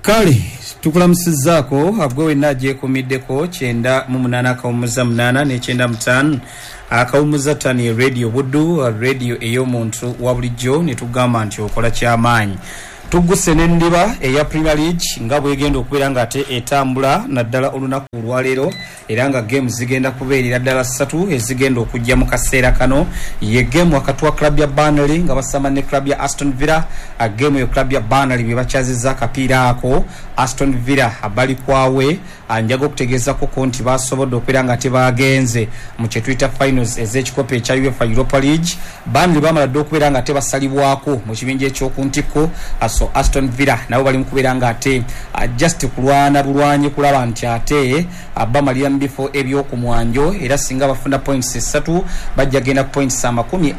Kale tukulamusizaako gwe wenna agyekuumiddeko 98.8 ne 95.5 ye Radio Buddu, radio ey'omuntu wa bulijjo ni tugamba nti okola ky'amaanyi. Tugguse n'endiba eya Premier League nga bwegenda okubeera nga ate etambula naddala olunaku olwaleero era nga geemu zigenda kubeerera ddala ssatu ezigenda okujja mu kaseera kano. Ye geemu wakati wa club ya Burnley nga basamba ne club ya Aston Villa. Geemu eyo club ya Burnley bwe bakyazizza akapiira ako, Aston Villa bali kwawe. Njaga okutegeezakuku nti basobodde okubeera nga tebaagenze mu kye tuyita finals ez'ekikopo ekya UEFA Europa League. Burnley baamala dda okubeera nga tebasalibwaku mu kibinja eky'oku ntikko. So Aston Villa nabo bali mu kubeera nga ate just kulwana bulwanyi kulaba nti ate bamalira mu bifo eby'oku mwanjo, era singa bafuna points ssatu bajja genda ku points amakumi,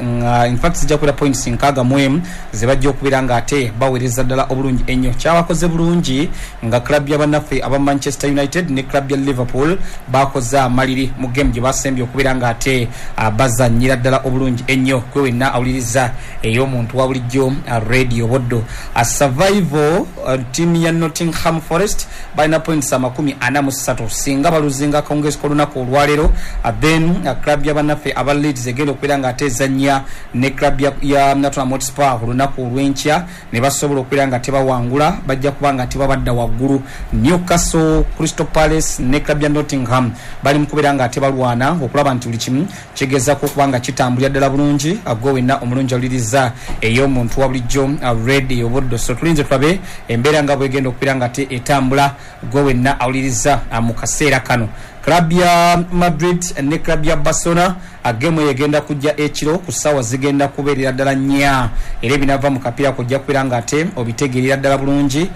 in fact zijja kubeera points 61 ze bajja okubeera nga ate baweereza ddala obulungi ennyo. Kyabakoze bulungi nga club ya bannaffe aba Manchester United ne club ya Liverpool bakoze amaliri mu game gye basembye okubeera nga ate bazannyira ddala obulungi ennyo. Gwe wenna awuliriza ey'omuntu wa bulijjo Radio Buddu. Survival team ya Nottingham Forest balina points 43, singa baluzinga akawungeezi k'olunaku olwaleero, then club ya bannaffe aba Leeds egenda okubeera nga ate ezannya ne club ya Tottenham Hotspur olunaku olw'enkya ne basobola okubeera nga tebawangula, bajja kuba nga tebabadda waggulu. Newcastle, Crystal Palace ne club ya Nottingham bali mu kubeera nga tebalwana okulaba nti buli kimu kigezaako okuba nga kitambulira ddala bulungi. Gwe wenna omulungi awuliriza ey'omuntu wa bulijjo Radio Buddu. So tulinze tulabe embeera nga bwegenda okubeera nga te etambula. Gwe wenna awuliriza mu kaseera kano, club ya Madrid ne club ya Barcelona gemu eyo egenda kujja ekiro ku ssaawa zigenda kubeerera ddala nnya, era ebinava mu kapiira kujja kubeera nga ate obitegeerera ddala bulungi.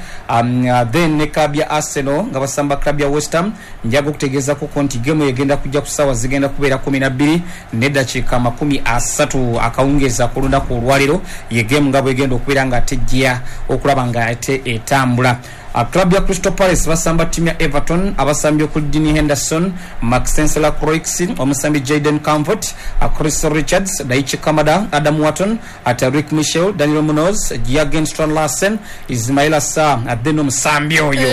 Then ne club ya Arsenal nga basamba club ya West Ham, njaga okutegeezakuko nti gemu eyo egenda kujja ku ssaawa zigenda kubeera 12:30 akawungeezi ak'olunaku olwaleero. Ye gemu nga bwegenda okubeera nga ate ejja okulaba nga ate etambula. Club ya Crystal Palace basamba ttiimu ya Everton, abasambi okuli Dean Henderson, Maxence Lacroix, omusambi Jayden Comfort, Chris Richards, Daichi Kamada, Adam Wharton, Tariq Michel, Daniel Munoz, Jurgen Strand Larsen, Ismaila Sarr, then omusambi oyo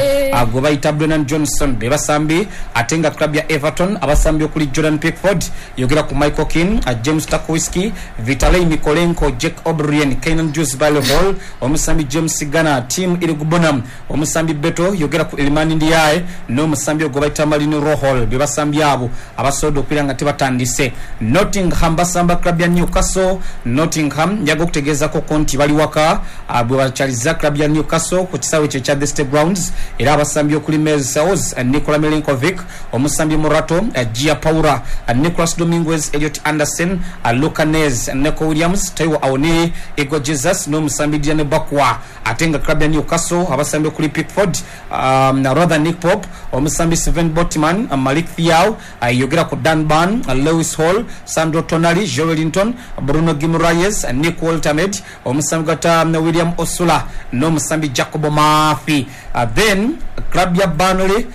gwe bayita Brennan Johnson be basambi. Ate nga club ya Everton abasambi okuli Jordan Pickford, yogera ku Michael Keane, James Tarkowski, Vitalij Mykolenko, Jake O'Brien, Kiernan Dewsbury-Hall, omusambi James Garner, Tim Iroegbunam, omusambi Beto, yogera ku Iliman Ndiaye n'omusambi ogwo bayita Marino Rohol be basambi abo abasobodde okubeera nga tebatandise. Nottingham basamba club ya Newcastle. Nottingham njaga okutegeezako nti bali waka bwe bakyaliza club ya Newcastle ku kisaawe kye ekya The State Grounds, era abasambi okuli Mel Sales, Nikola Milenkovic, omusambi Murato, Gia Paura, Nicolas Dominguez, Elliot Anderson, Luca Nez, Neco Williams, Taiwo Awoniyi, Igor Jesus n'omusambi Diane Bakwa. Ate nga club ya Newcastle abasambi okuli Pickford, rather Nick Pope, omusambi Sven Botman, Malik Thiaw, yogera ku Dan Burn, Lewis Hall, Sandro Tonali, Joelinton, Bruno Guimaraes, Nick Woltemade, omusambi gata William Osula n'omusambi Jacob Murphy. Then club ya Burnley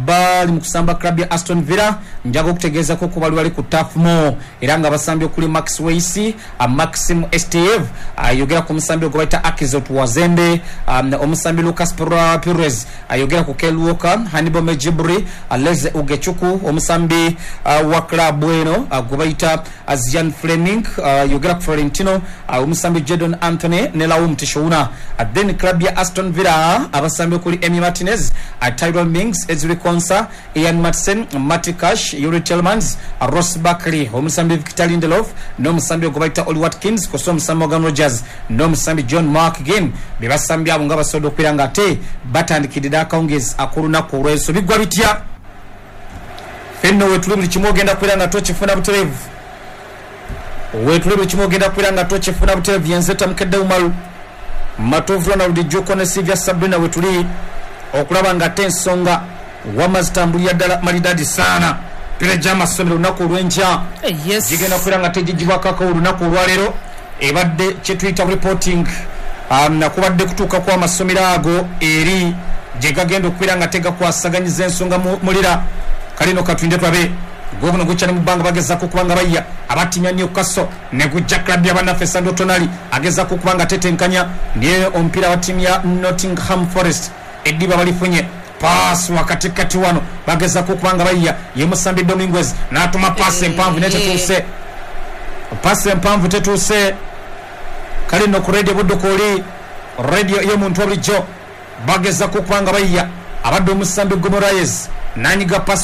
bali mu kusamba club ya Aston Villa, njaga okutegeezako ku bali bali ku Turf Moor, era nga abasambi okuli Max Weiss, Maxim Esteve, yogera ku musambi ogwo bayita Akizot Wazembe, omusambi Lucas Pires, yogera ku Kyle Walker, Hannibal Mejibri, Leze Ugechuku, omusambi wa club eno gwe bayita Zian Fleming, yogera ku Florentino, omusambi Jadon Anthony ne Laum Tishouna. Then club ya Aston Villa abasambi okuli Emi Martinez, Tyrell Mings, Ezri Konsa, Ian Maatsen, Matty Cash, Yuri Tielemans, Ross Barkley, omusambi Victor Lindelof n'omusambi ogwo bayita Oli Watkins, kw'ossa omusambi Morgan Rogers n'omusambi John McGinn be basambi abo nga basobodde okubeera nga ate batandikidde akawungeezi ak'olunaku olw'enso. Biggwa bitya? Fenno wetuli buli kimu ogenda kubeera nga tokifuna butereevu. Wetuli buli kimu ogenda kubeera nga tokifuna butereevu. Yenze Tamukedde Umaru Matovu Ronald Jjuuko ne Sylvia Sabrina wetuli okulaba nga ate ensonga wamma zitambulira ddala malidadi saana. Emipiira gy'amasomero olunaku olw'enkya gigenda kubeera nga tegigibwako olunaku olwaleero. Ebadde kye tuyita reporting, nakubadde kutuuka kw'amasomero ago eri gye gagenda okubeera nga tegakwasaganyiza ensonga mulira. Kale no katulinde tulabe. Gwo guno gukyali mu bbanga, bagezaako okuba nga bayya aba ttiimu ya Newcastle ne gujja club ya bannaffe. Sandro Tonali agezaako okuba nga tetenkanya naye omupiira wa ttiimu ya Nottingham Forest. Eddiba balifunye, paasi wakatikati wano, bagezako okuba nga bayiya. Ye musambi Dominguez n'atuma paasi empanvu, naye tetuuse. Paasi empanvu tetuuse. Kale nno ku Radio Buddu, kwoli radio y'omuntu bulijjo, bagezako okuba nga bayiya. Abadde omusambi Guimaraes nanyiga pasi.